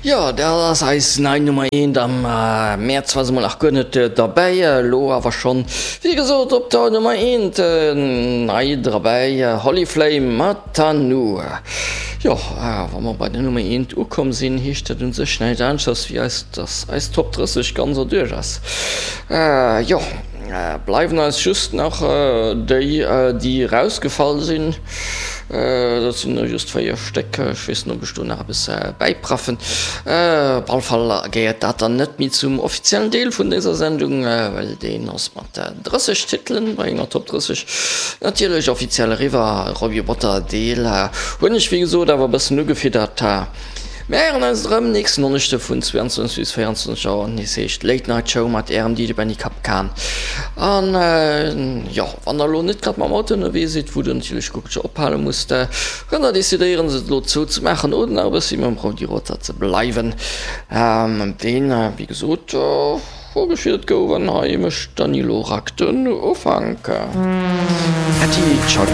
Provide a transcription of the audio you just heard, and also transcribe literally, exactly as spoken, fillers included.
Jo, dat ass eis nei Nummer eent. Am Mäerz war se mol nach guer net derbäi, elo awer schonn, wéi gesot, op der Nummer eent nei derbäi, Holly Flame mat Tanu. Jo, wa mer bei der Nummer eent ukomm sinn, heescht dat un sech näischt aneschters wéi eis, dass eis Top drësseg ganz erduerch ass. Jo, bleiwen eis just nach déi, déi erausgefall sinn. Dat sinn der just véier Stéck. Ech weess net, ob ech do nach eppes bäipraffen. Op alle Fall gehéiert dat dann net méi zum offiziellen Deel vun dëser Sendung, well deen ass mat drësseg Titelen bei enger Top drësseg natierlech offiziell eriwwer. Robbie Roboter Deel hunn ech wéi gesot awer e bëssen ugefiddert. Mir héieren eis erëm nächsten Donneschde vun zweiundzwanzeg bis véierundzwanzeg Auer, nees heescht Late Night Show mat ärem D J Benny Kapkan. An jo, wann der elo net grad mam Auto ënnerwee sidd, wou der natierlech guer kech ophale musst, kënnt der decidéieren se elo zou ze maachen oder nach e bëssi mam Roady Rotter ze bleiwen. Deen, wéi gesot, vorgefiert gouf an hei mécht d'Dany Lorac den Ufank. Äddi, ciao.